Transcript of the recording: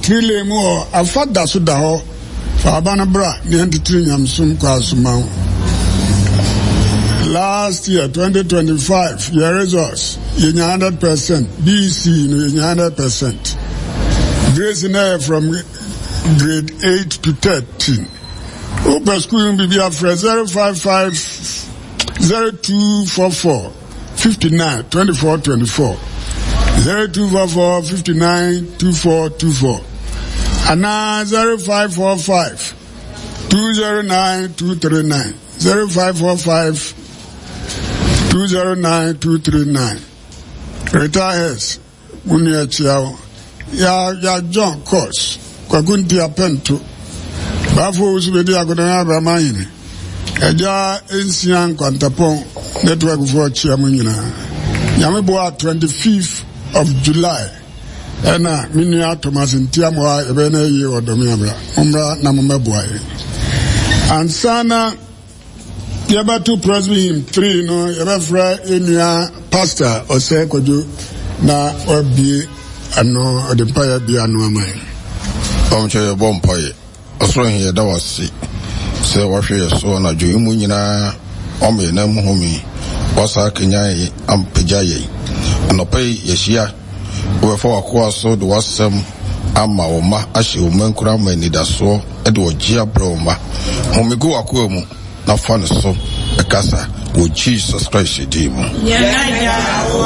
Three lane mu hɔ, afa da so da hɔ. Fa aba no bra na yɛntetere nyamesom kwan so ma wo. Last year, 2025, yɛ results, yɛnya 100%. BEC no, yɛnya 100%. Grace no yɛ from grade 8 to 13. Wopɛ sukuu no biribi afrɛ 055 0244 59 24 24 0244 59 24 24 anaa 0545 209 239 0545 209 239 Retire Wo nua kyia wo. Ya ya John Kos, Kwaku Nti Apɛnto, Baafo Owusu Bedi Akodan Abrama Hene, Agya Nsia Nkwantapɔn Network foɔ kyia mo nyinaa. Nyame boa 25th of July ɛna me nua Thomas Ntiamoa yɛbɛyɛ no ayie wɔ Dɔme Abra. Mommra na mommɛboa yɛn. Ansa na Yɛbɛto Presby Hymn 3 no, yɛbɛfrɛ yɛn nua Pastor Ɔsɛe Kwadwo na wabue ano, ɔde mpaeɛ abue ano ama yɛn. Ɔmkyɛ yɛbɔ mpaeɛ. Ɔsoro He, yɛda wo ase sɛ woahwɛ yɛ so anadwo yi mu nyinaa, woama yɛn nan mu home, woasan akanyan yɛn ampagya yɛn. Anɔpa yi yɛahyia, wobɛfa w'akoa so de w'asɛm ama wo mma, ahyɛ wo mma nkuran ama anidasoɔ de ɔgye abrɛ wo mma. Home gu w'akoa mu na fa ne so kasa wɔ Jesus Christ din mu. Yɛn Agya a ɔwɔ.